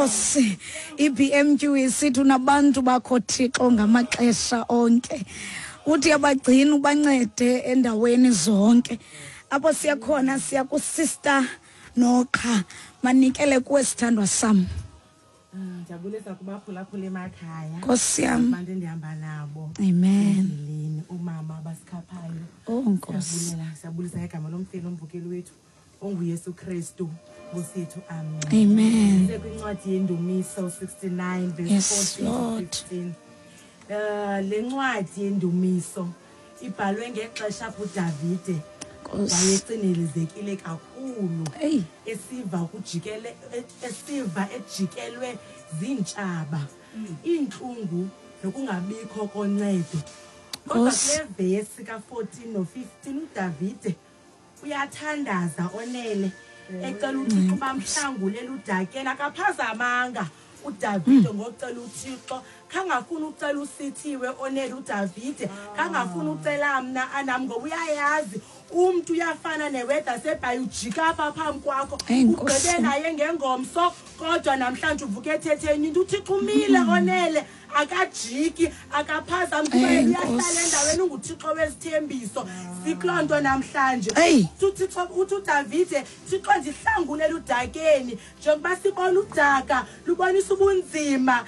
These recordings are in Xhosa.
Nkosi, iBMQ isithi unabantu bakho Thixo ngamaxesha onke. Uthi abagcina ubancede endaweni zonke. Apho siya khona siya kusister Noqha. Manikele kuwe sithandwa sam. Ndiyabulisa kubaphulaphula emakhaya. Nkosi yam. Abantu endihamba nabo. Amen. Endleleni umama abasikhaphayo. Oh Nkosi. Siyabulela, siyabulisa ngegama lomfeli omvukeli wethu onguYesu Kristu Nkosi yethu. Amen. Amen. Sekwincwadi yendumiso 69 verse Yes, 14 to Lord. 15. Eh le ncwadi yendumiso ibhalwe ngexesha apho uDavide Nkosi. wayecinelezekile kakhulu Eyi. esiva kujikele esiva ejikelwe ziintshaba iintlungu nokungabikho koncedo kodwa Nkosi. kule vesi ka-14 no-15 uDavide uyathandaza onele ecela uThixo bamhlangule eludakeni akaphazamanga uDavide ngocela uThixo khangafuna ucela usithiwe onele uDavide khangafuna ucela mna anam ngoba uyayazi umntu uyafana neweda sebhayi ujika apha phambi kwakho Eyi, Nkosi. ugqibe naye ngengomso kodwa namhlanje uvuke ethetheni into uThixo umile onele akajiki akaphazami kuba Eyi, yena uyahlala Nkosi. endaweni unguThixo wezithembiso sikuloo nto namhlanje Eyi. Uthi uThixo uthi uDavide Thixo ndihlangule eludakeni njengoba sibona udaka lubonisa ubunzima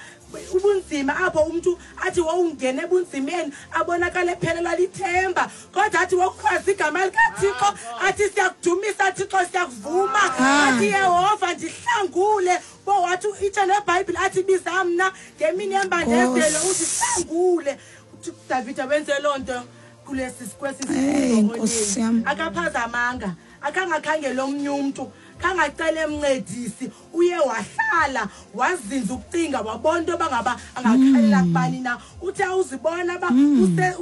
ubunzima apho umntu athi wowungena ebunzimeni abonakale ephelelwa lithemba kodwa athi wokhwaza igama likaThixo athi siyakudumisa Thixo siyakuvuma athi Yehova ndihlangule bo wathi itsho nebhayibhile athi biza mna ngemini yembandezelo undihlangule uthi uDavide wenze loo nto kulesi kwesi Hey, Nkosi yam. akaphazamanga akangakhangela omnye umntu khangacela emncedisi uye wahlala wazinza ukucinga wabona into yoba ngaba angakhalela kubani na uthi awuzibona uba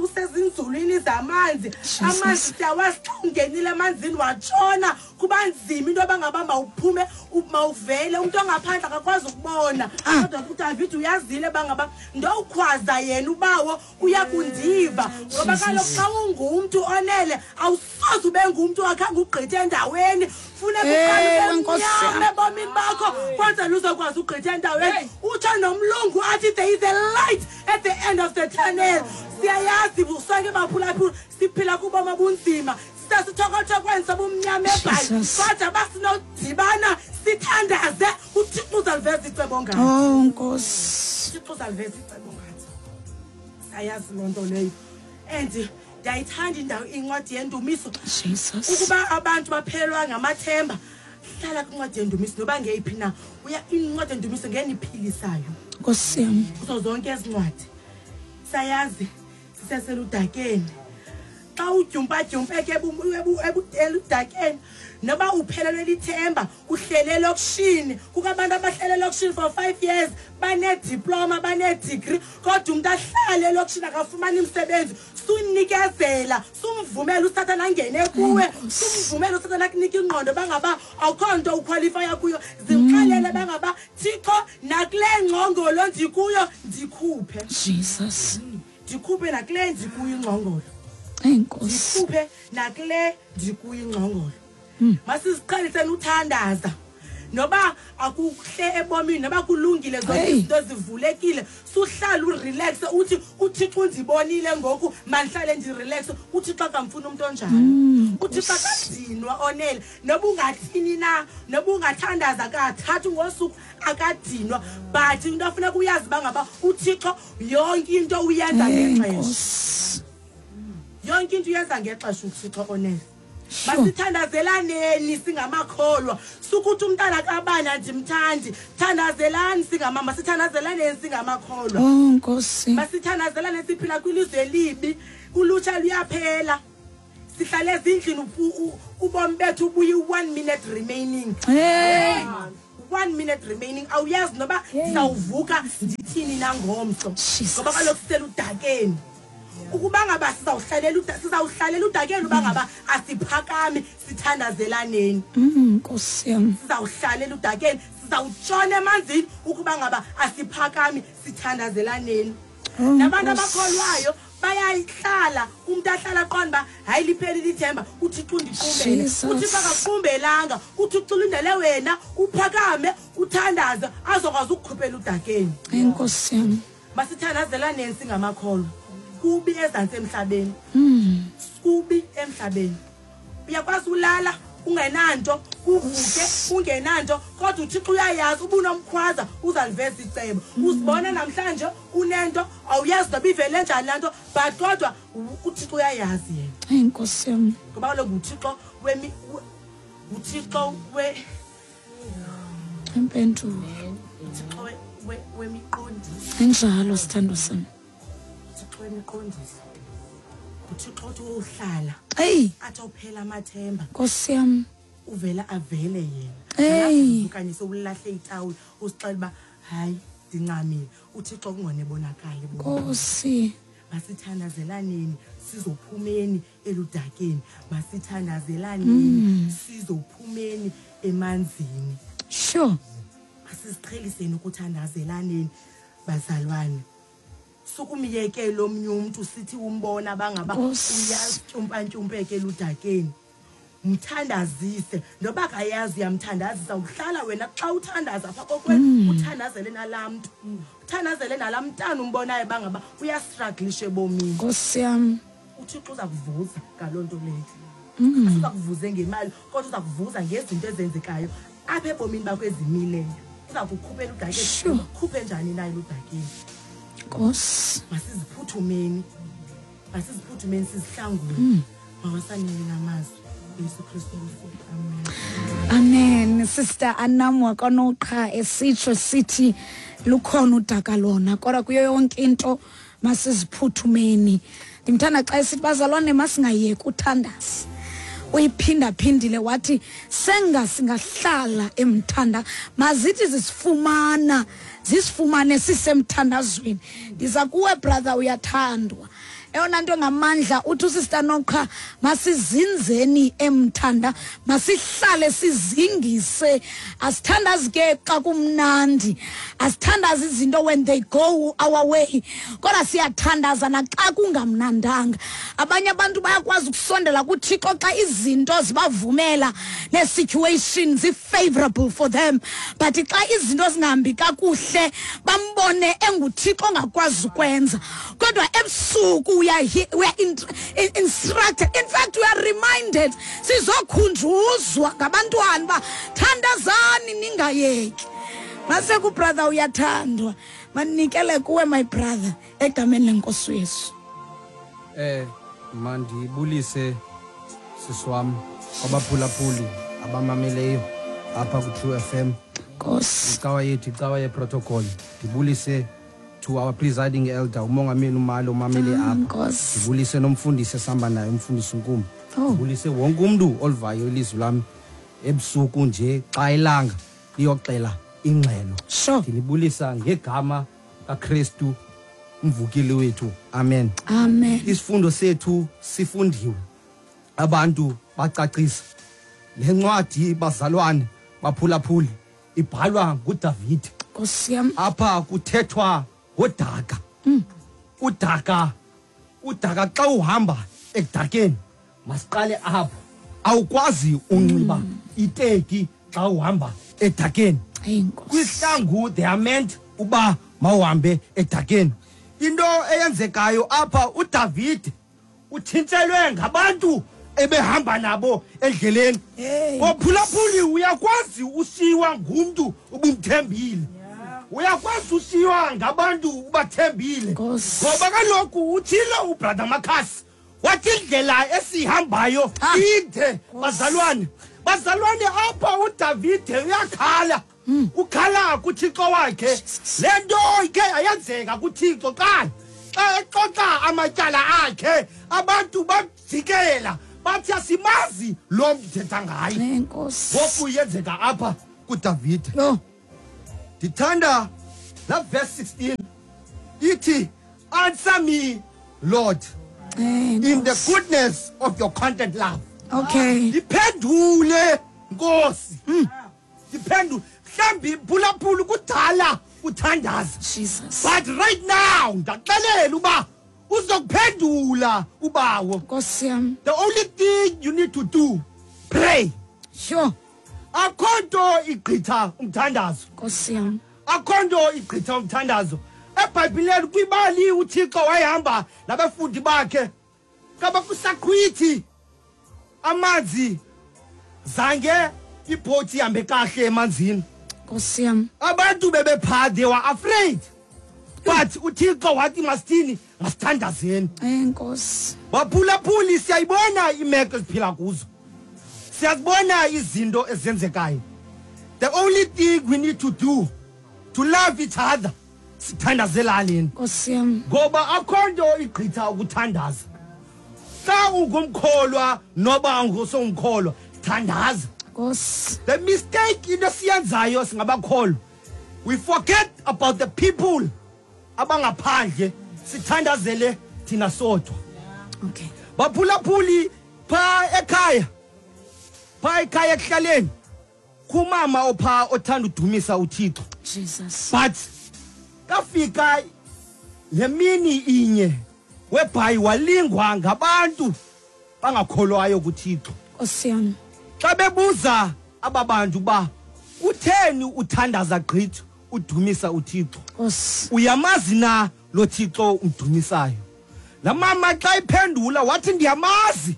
usezinzulwini zamanzi amanzi siyawazi xa ungenile emanzini watshona kuba nzima into yoba ngaba mawuphume mawuvele umntu ongaphandle akakwazi ukubona kodwa uDavide uyazile uba ngaba ndowukhwaza yena ubawo uya kundiva ngoba kaloku xa ungumntu onele awusoze ube ngumntu akhange ugqithe endaweni funeka uqale Ewe, ube Nkosi mnyama yam. ebomini bakho kwenzela uzokwazi ugqitha endaweni utsho nomlungu athi there is a light at the end of the tunnel siyayazi sonke baphulaphula siphila kubomi obunzima sisesithokothokweni sobumnyama ebhayi Jesus. kodwa basinodibana sithandaze uThixo uzaliveza icebo ngathi Oh Nkosi. uThixo uzaliveza icebo ngathi sayazi loo nto leyo and ndiyayithanda indawo incwadi yendumiso Jesus. ukuba abantu baphelelwa ngamathemba hlala kwincwadi yendumiso noba ngeyiphi na uya incwadi yendumiso ngeniphilisayo Nkosi yam. kuzo zonke ezi ncwadi sayazi siseseludakeni xa udyumpadyumpeke eludakeni noba uphelelwe lithemba uhlele elokishini kukho abantu abahlele elokishini for 5 years banediploma banedegree kodwa umntu ahlale elokishini akafumani umsebenzi sunikezela sumvumela usathana angene kuwe sumvumela usathana akunika ingqondo bangaba awukho nto ukhwalifaya kuyo zimxelele bangaba Thixo nakule ngcongolo ndikuyo ndikhuphe Jesus. ndikhuphe nakule ndikuyo ingcongolo Eyi Nkosi. ndikhuphe nakule ndikuyo ingcongolo masiziqheliseni uthandaza noba akuhle ebomini noba kulungile zonke Hey. izinto zivulekile suhlala urelaxe uthi uThixo undibonile ngoku mandihlale ndirelaxe uThixo akamfuni umntu onjalo uThixo akadinwa onele noba ungathini na noba ungathandaza kathathu ngosuku akadinwa but into afuneka uyazi uba ngaba uThixo yonke into uyenza Eyi ngexesha Nkosi. yonke into uyenza ngexesha uThixo onele masithandazelaneni singamakholwa sukuthi umntana kabani andimthandi thandazelani singamama sithandazelaneni singamakholwa Oh Nkosi. masithandazelane siphila kwilizwe elibi ulutsha luyaphela sihlale ezindlini ubomi bethu buyi 1 minute remaining Hey. 1 minute remaining awuyazi noba ndizawuvuka ndithini nangomso Jesus. ngoba kaloku siseludakeni ukuba ngaba sizawuhlalela udakeni uba ngaba asiphakami sithandazelaneni Nkosi yam. sizawuhlalela udakeni sizawutshona emanzini ukuba ngaba asiphakami sithandazelaneni Oh, nabantu Nkosi. abakholwayo Bayayihlala umuntu ahlala qonda uba hayi liphelile ithemba, uThixo undiqumbele. Jesus. UThixo akakuqumbelanga, uThixo ulindele wena uphakame uthandaze azokwazi ukukhuphela udakeni. Enkosi yam. Masithandazelaneni singamakholwa. Kubi ezantsi emhlabeni. Kubi emhlabeni. Uyakwazi ulala ungenanto, uvuke ungenanto, kodwa uThixo uyayazi uba unomkhwaza uzaliveza icebo. Uzibona namhlanje unento awuyazi noba ivele njani laa nto, but kodwa uThixo uyayazi yena. Enkosi yam. Ngoba kaloku nguThixo nguThixo Impendulo. uThixo wemiqondiso. Injalo sithando sam. uThixo wemiqondiso. UThixo othi uhlala. Eyi. Athi awuphela amathemba. Nkosi yam. Uvela avele yena. Eyi. Okanye sewulahle itawuli usixela uba hayi ndincamile. uThixo kungone bonakale. Nkosi. Masithandazelaneni sizophumeni eludakeni. Masithandazelaneni sizophumeni emanzini. Sure. Masiziqheliseni ukuthandazelaneni bazalwane. Sukumyekela omnye umntu sithi umbona bangaba uyatyumpantyumpeke eludakeni. Mthandazise noba akayazi uyamthandazisa. Uhlala wena xa uthandaza apha kokwenu, uthandazele nalaa mntu, uthandazele nalaa mntana umbonayo bangaba uyastrugglisha ebomini. Nkosi yam. uThixo uza kuvuza ngaloo nto leyo. Uza kuvuze ngemali, kodwa uza kuvuza ngezinto ezenzekayo apha ebomini bakho ezimileyo. Uza kukhuphela udakeni. Sure. Ukhuphe njani na eludakeni? Nkosi. Masiziphuthumeni. Masiziphuthumeni sizihlangule. Mawasanele namazwi. Yesu Kristu Nkosi. Amen. Amen. Sister Anam wakwaNoqha esitsho sithi lukhona udaka lona, kodwa kuyo yonke into masiziphuthumeni. Ndimthanda xa esithi bazalwane masingayeki uthandaza. Uyiphindaphindile wathi senga singahlala emthanda, mazithi zisifumana, zisifumane sisemthandazweni. Ndiza kuwe brother, uyathandwa. Eyona nto ngamandla uthi uSister Noqha masizinzeni emthanda, masihlale sizingise. Asithandazi ke xa kumnandi, asithandazi izinto when they go our way, kodwa siyathandaza naxa kungamnandanga. Abanye abantu bayakwazi ukusondela kuThixo xa izinto zibavumela nee-situations zi-favorable for them, but xa izinto zingahambi kakuhle bambone enguThixo ongakwazi ukwenza. Kodwa ebusuku we are instructed, in fact we are reminded, sizokhunjuzwa ngabantwana uba thandazani ningayeki. Maseku brother uyathandwa, manikele kuwe my brother egameni lenkosi Yesu. Mandibulise sisi wam kwabaphulaphuli abamameleyo apha ku True FM. Nkosi. Icawa yethu, icawa yeprotocol. Ndibulise to our presiding elder umongameli uMalo umamele apha. Nkosi. Ndibulise nomfundisi esihamba naye umfundisi uNkumbi. Oh. Ndibulise wonke umntu olivayo ilizwi lam ebusuku nje xa ilanga liyoxela ingxelo. Sure. Ndinibulisa ngegama kaKristu umvukeli wethu. Amen. Amen. Isifundo sethu sifundiwe. Abantu bacacisa. Le ncwadi bazalwane baphulaphuli ibhalwa nguDavide. Nkosi yam. Apha kuthethwa ngodaka. Udaka, udaka xa uhamba ekudakeni masiqale apho. Awukwazi unxiba iteki xa uhamba edakeni. Eyi, Nkosi. Kwihlangu they are meant uba mawuhambe edakeni. Into eyenzekayo apha, uDavide uthintshelwe ngabantu ebehamba nabo endleleni. Hey. Ophulaphuli uyakwazi ushiywa ngumntu ubumthembile. Uyakwazi ushiywa ngabantu ubathembile. Nkosi. Ngoba kaloku uthile uBrother Makhasi wathi indlela esihambayo inde. Nkosi. Bazalwane, bazalwane apha uDavide uyakhala. Ukhala kuThixo wakhe. Jesus. Le nto ike ayenzeka kuThixo xa exoxa amatyala akhe, abantu bamjikela bathi asimazi lo mntu uthetha ngaye. Enkosi. Ngoku yenzeka apha kuDavide. Yho. Ndithanda la verse 16 ithi, answer me Lord in the goodness of your content love. Okay. Ndiphendule Nkosi. Ndiphendule. Mhlawumbi phulaphula kudala uthandaza. Jesus. But right now ndaxelela uba Uzokuphendula ubawo. Nkosi yam. The only thing you need to do, pray. Sure. Akho nto igqitha umthandazo. Nkosi yam. Akho nto igqitha umthandazo. EBhayibhileni kwibali uThixo wayehamba nabafundi bakhe kaba kusaqhwithi amanzi zange ibhoti ihambe kahle emanzini. Nkosi yam. Abantu bebephaa, they were afraid, but uThixo wathi masithini? Masithandazeni. Enkosi. Baphulaphuli, siyayibona imeko esiphila kuzo, siyazibona izinto ezenzekayo. The only thing we need to do to love each other, sithandazelaneni. Nkosi yam. Ngoba akho nto igqitha ukuthandaza. Xa ungumkholwa noba ungusongumkholwa, thandaza. Nkosi. The mistake into esiyenzayo singabakholwa, we forget about the people abangaphandle, sithandazele thina sodwa. Okay. Baphulaphuli, phaa ekhaya ekuhlaleni kumama ophaa othanda udumisa uThixo. Jesus. But kafika le mini inye webhayi walingwa ngabantu bangakholwayo kuThixo. Nkosi yam. Xa bebuza aba bantu uba kutheni uthandaza gqitha udumisa uThixo, Nkosi. uyamazi na lo Thixo umdumisayo? Laa mama xa iphendula wathi, "Ndiyamazi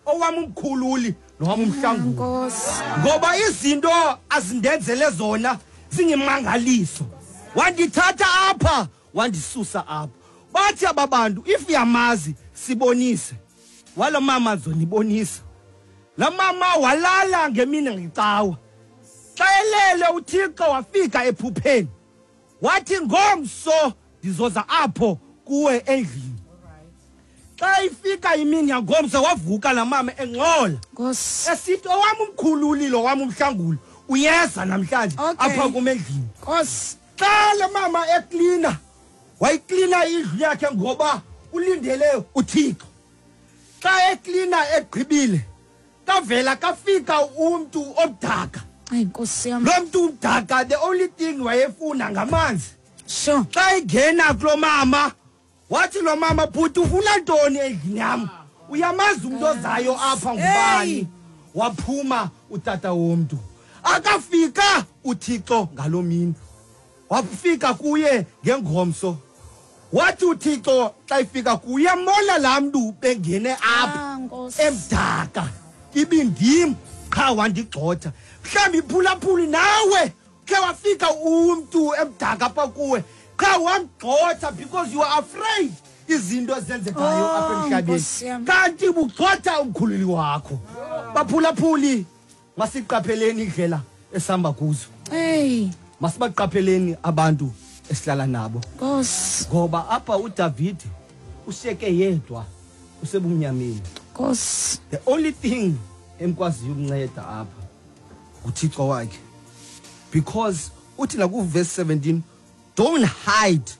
owam umkhululi nowam umhlanguli, Nkosi. ngoba izinto azindenzele zona zingimangaliso. Wandithatha apha, wandisusa apha." Bathi aba bantu, "If uyamazi, sibonise." Walo mama, "Zonibonisa." Laa mama walala ngemini ngecawa. Xa elele, uThixo wafika ephupheni wathi, "Ngomso ndizoza apho kuwe endlini." Xa ifika imini yangomso, wavuka laa mama engxola, Nkosi. esithi, "Owam umkhululi lo wam umhlanguli uyeza namhlanje apha kum endlini." Nkosi. Xa le mama eklina, wayiklina indlu yakhe ngoba ulindele uThixo. Xa eklina egqibile, kavela kafika umntu omdaka. Ayi, Nkosi yam. Lo mntu umdaka, the only thing wayefuna ngamanzi. Xa ingena kulo mama, wathi lo mama, "Bhuti, ufuna ntoni endlini yam? Uyamazi umntu ozayo apha ngubani?" Hey. Waphuma utata womntu. Akafika uThixo ngaloo mini, wafika kuye ngengomso. Wathi uThixo xa ifika kuye, "Uyambona laa mntu bengene apha Ah, Nkosi. emdaka? Ibindim qha wandigxotha." Mhlawumbi iphulaphuli nawe khe wafika umntu emdaka apha kuwe, qha wamgxotha because you are afraid izinto ezenzekayo Oh, apha emhlabeni, Nkosi yam. kanti bugxotha umkhululi wakho. Baphulaphuli, masiqapheleni indlela esihamba kuzo. Hey. Masibaqapheleni abantu esihlala nabo, Nkosi. ngoba apha uDavid ushiyeke yedwa, usebumnyameni. Nkosi. The only thing emkwaziyo ukunceda apha nguThixo wakhe, because uthi nakuverse 17, "Don't hide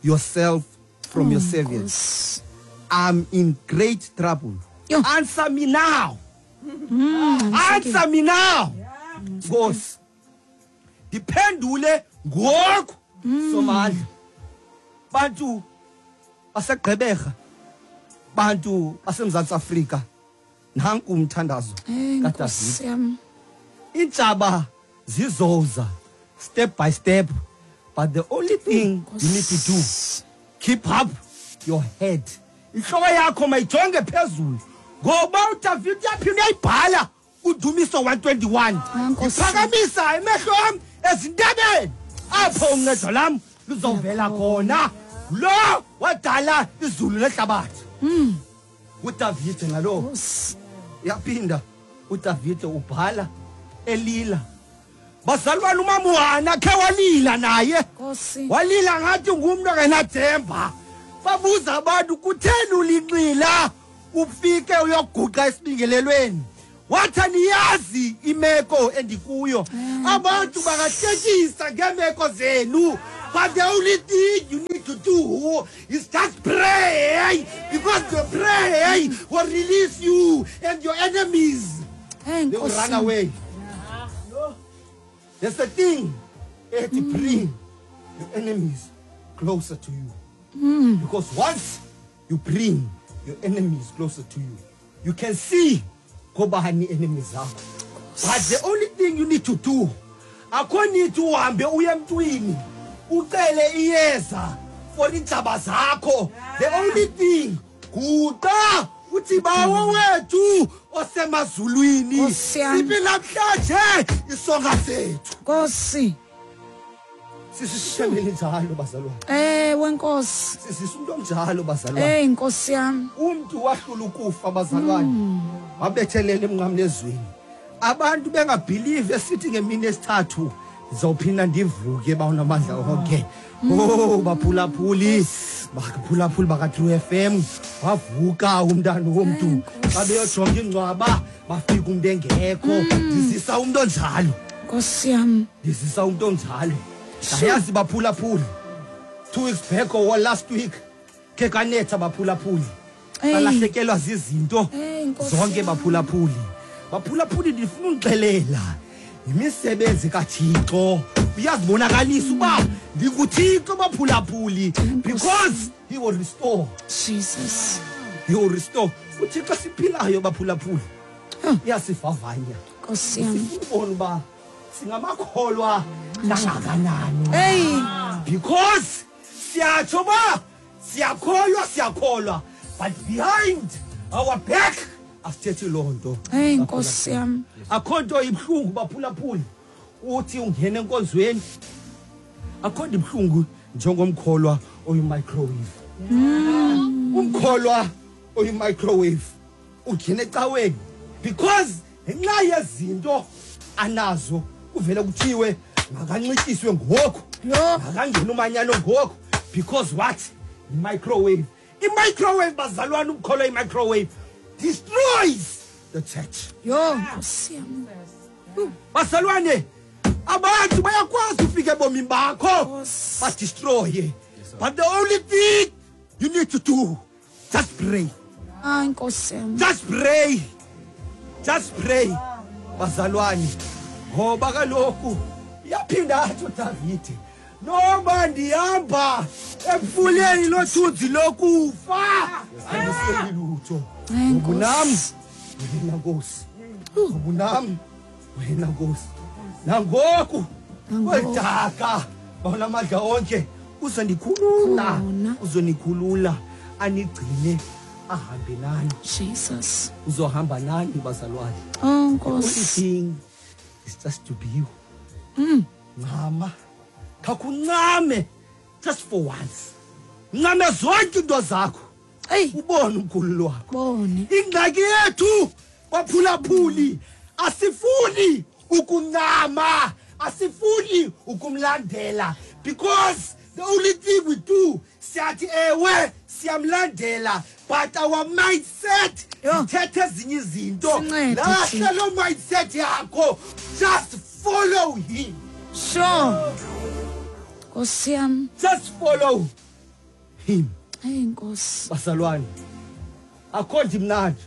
yourself from your servant. Nkosi. I'm in great trouble. Yo. Answer me now. Answer me now, Nkosi. Ndiphendule ngoku, Somandla." Bantu baseGqeberha, bantu baseMzantsi Afrika, nanku umthandazo Hey, kaDavid. Nkosi yam. Iintshaba zizoza step by step, but the only thing you need to do, keep up your head. Inhloko yakho mayijonge phezulu, ngoba uDavid uyaphinda uyayibhala uDumiso 121, Ah, Nkosi. "Ndiphakamisa emehlo am ezintabeni, apho uncedo lam luzovela khona, lo wadala izulu nehlabathi." UDavide ngalo. Nkosi. Yaphinda uDavide ubhala elila. Bazalwane, umama khe walila naye. Nkosi. Walila ngathi ngumntu ongenathemba. Babuza abantu, "Kutheni ulinxila ufike uyoguqa esibingelelweni?" Wathi, "Aniyazi imeko endikuyo. Abantu bangahlekisa ngeemeko zenu, but the only thing you need to do is just pray, because the prayer will release you and your enemies, Hey, they will Nkosi. run away." There's a thing ethi bring your enemies closer to you, because once you bring your enemies closer to you. You can see ngobani enemies zakho. But the only thing you need to do, akho need uhambe uye emntwini ucele iyeza for iintshaba zakho. The only thing, guqa uthi Bawo wethu osemazulwini, Nkosi yam. siphi namhlanje isonka sethu. Nkosi. Sisisishemele njalo bazalwane. Ewe Nkosi. Sisisa umuntu omnjalo bazalwane. Hey Nkosi yam. Umntu wahlula ukufa bazalwane. Wabethelela emnqamlezweni. Abantu bengabelieve esithi ngemini esithathu ndizawuphinda ndivuke bawunamandla onke. Oh baphulaphuli, baphulaphuli baka True FM, wavuka umntana womntu. Xa beyojonga ingcwaba bafika umuntu engekho. Ndizisa umuntu onjalo. Nkosi yam. Ndizisa umuntu onjalo. Ndayazi baphulaphuli. 2 weeks back or last week ke kanetha baphulaphuli. Eyi. Balahlekelwa zizinto Eyi, Nkosi zonke yam. baphulaphuli. Baphulaphuli ndifuna undixelela imisebenzi kaThixo uyazibonakalisa uba ndinguThixo baphulaphuli, because he will restore. Jesus. He will restore. UThixo siphilayo baphulaphuli uyasivavanya. Nkosi yam. Sifuna ubona uba singamakholwa kangakanani. Hey. Because siyatsho uba siyakholwa, siyakholwa, but behind our back asithethi loo nto. Hey Nkosi yam. Akho nto ibuhlungu baphulaphuli uthi ungena enkonzweni, akho nto ibuhlungu njengomkholwa oyi-microwave. Umkholwa oyi-microwave ungena ecaweni because ngenxa yezinto anazo kuvele kuthiwe makanxityiswe ngoku, Yho. makangena umanyano ngoku, because what? Microwave. I-microwave bazalwane, umkholwa i-microwave destroys the church. Yho Nkosi yam. Bazalwane, abantu bayakwazi ufika ebomini bakho Nkosi. badestroye, but the only thing you need to do, just pray. Hayi Nkosi yam. Just pray, just pray bazalwane, ngoba kaloku iyaphinda athi uDavide, noma ndihamba emfuleni lothunzi lokufa andiseli lutho, Hayi, ngoba unam Nkosi. wena Nkosi, ngoba unam wena Nkosi. Nangoku Nangoku. kweli daka bawunamandla onke uzondikhulula, Khona. uzonikhulula anigcine ahambe nani. Jesus. Uzohamba nani bazalwane. Oh The only Nkosi. thing is just to be you. Ncama, khawuncame just for once, ncame zonke into zakho, Hey. ubone umkhululi wakho. Bone. Ingxaki yethu baphulaphuli, asifuni ukuncama, asifuni ukumlandela, because the only thing we do, siyathi ewe siyamlandela, but our mindset Yho. ithetha ezinye izinto. Sincede, Lahla Thixo. loo mindset yakho, just follow him. Sure. Nkosi yam. Just follow him. Hey Nkosi. Bazalwane, akho nto imnandi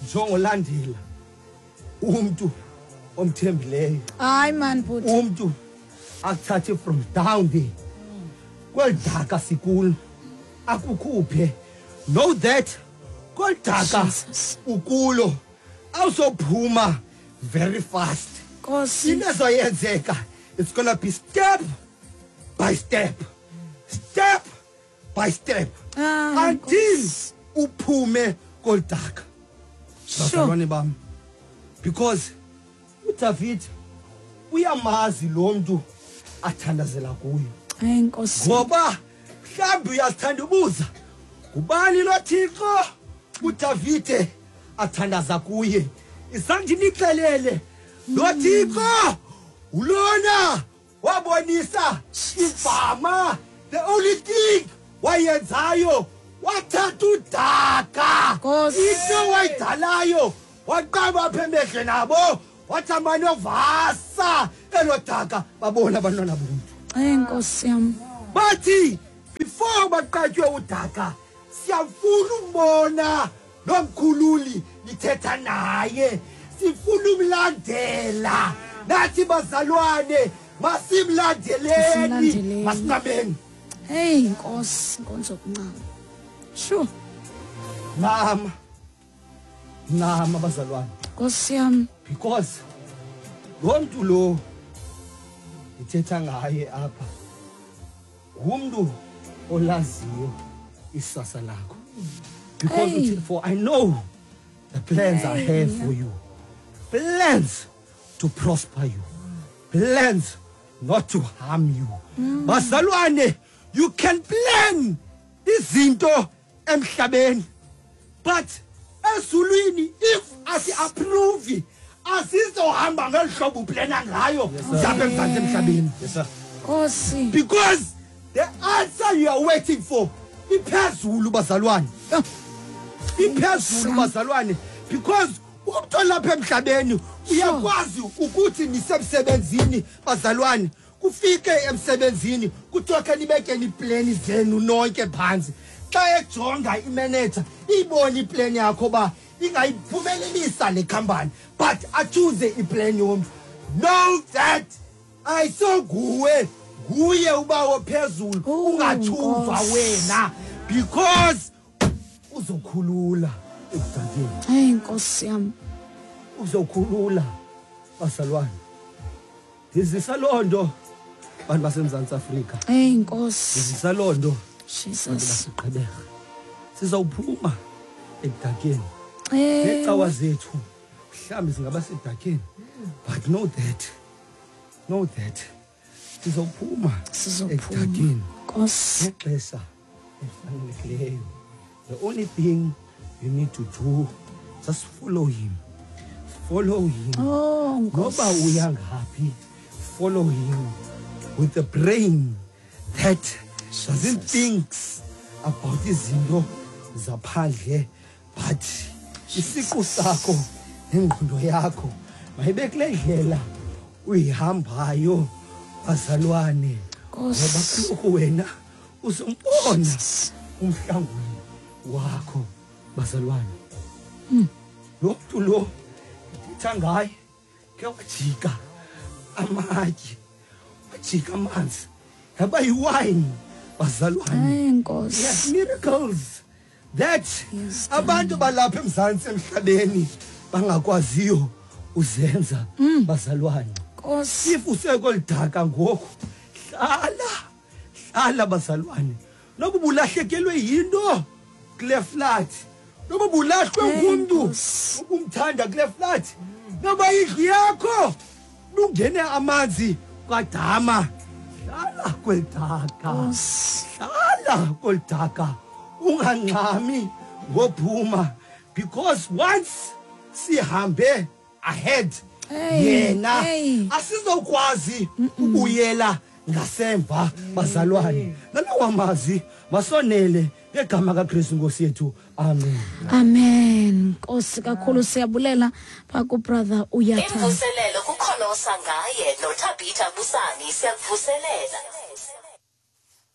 njengolandela umntu omthembileyo. Hayi man bhuti. Umntu akuthathe from down there kweli daka sikulo akukhuphe. Know that kweli daka Jesus. ukulo awuzophuma very fast. Nkosi. Into ezoyenzeka, it's gonna be step by step, step by step, Ah, until Nkosi. uphume kweli daka. Sure. Bazalwane bam, because uDavid uyamazi lo mntu athandazela kuyo. Hey Nkosi. Ngoba mhlawumbi uyazithanda ubuza ngubani lo Thixo uDavide athandaza kuye. Izange ndinixelele lo Thixo ulona wabonisa ifama. The only thing wayenzayo, wathatha udaka, Nkosi. into wayidalayo, waqaba apha emehlweni abo, wathi amanovasa elo daka, babona abantwana bomntu. Hey Nkosi yam. Bathi before baqatywe udaka, siyafuna umbona lo mkhululi nithetha naye, sifuna umlandela. Nathi bazalwane, masimlandeleni, Masimlandeleni. masincameni. Hey Nkosi, inkonzo yokuncama. Sure. Ncama, ncama bazalwane. Nkosi yam. Because lo mntu lo ndithetha ngaye apha ngumntu olaziyo isasa lakho. Because Hey. uthi, for I know the plans I have for you, plans to prosper you, plans not to harm you. Bazalwane, you can plan izinto emhlabeni, but ezulwini if asi-approve asizohamba ngeli hlobo uplana ngayo zapha emzantsi emhlabeni. Yes, sir. Nkosi. Because the answer you are waiting for iphezulu bazalwane, iphezulu bazalwane. Because umntu olapha emhlabeni uyakwazi ukuthi nisemsebenzini bazalwane, kufike emsebenzini kuthiwa khe nibekeni iipleni zenu nonke phantsi. Xa ejonga imeneja iyibone ipleni yakho uba ingayiphumelelisa le khampani, but atshuze ipleni yomntu. Know that ayisonguwe, nguye ubawo phezulu. Oh, Ungatshuzwa Nkosi. wena, because uzokhulula ekudakeni. Hey Nkosi yam. Uzokhulula bazalwane. Ndizisa loo nto bantu baseMzantsi Afrika. Hey Nkosi. Ndizisa loo nto bantu Jesus. baseGqeberha. Sizawuphuma ekudakeni. Hey. Neecawa zethu mhlawumbi zingaba sedakeni, but know that, know that sizawuphuma Sizophuma. ekudakeni Nkosi. ngexesha elifanelekileyo. The only thing you need to do, just follow him, follow him. Oh Noba Nkosi. uya ngaphi, follow him with the brain that doesn't think about izinto zaphandle, but isiqu sakho nengqondo yakho mayibe kule ndlela uyihambayo bazalwane. Nkosi. Ngoba kaloku wena uzombona umhlanguli wakho bazalwane. Lo mntu lo ndithetha ngaye ke wajika amatye, wajika amanzi yaba yiwayini bazalwane. Hey Nkosi. Yes, miracles that Yes, abantu balapha eMzantsi emhlabeni bangakwaziyo uzenza bazalwane. Nkosi. If usekolidaka ngoku, hlala, hlala bazalwane. Noba ubulahlekelwe yinto kule flat, noba ubulahlwe Hey, ngumntu Nkosi. ubumthanda kule flat, noba indlu yakho lungene amanzi kwadama, hlala kwelidaka. Nkosi. Hlala kwelidaka, ungangxami ngophuma, because once sihambe ahead Hey, yena hey. asizokwazi ubuyela ngasemva bazalwane. Nalawa mazwi masonele ngegama kaKristu Nkosi yethu, amen. Amen. Nkosi kakhulu, siyabulela pha ku brother Uyatha. Imvuselelo kukholosa ngaye noThabitha Busani siyakuvuselela.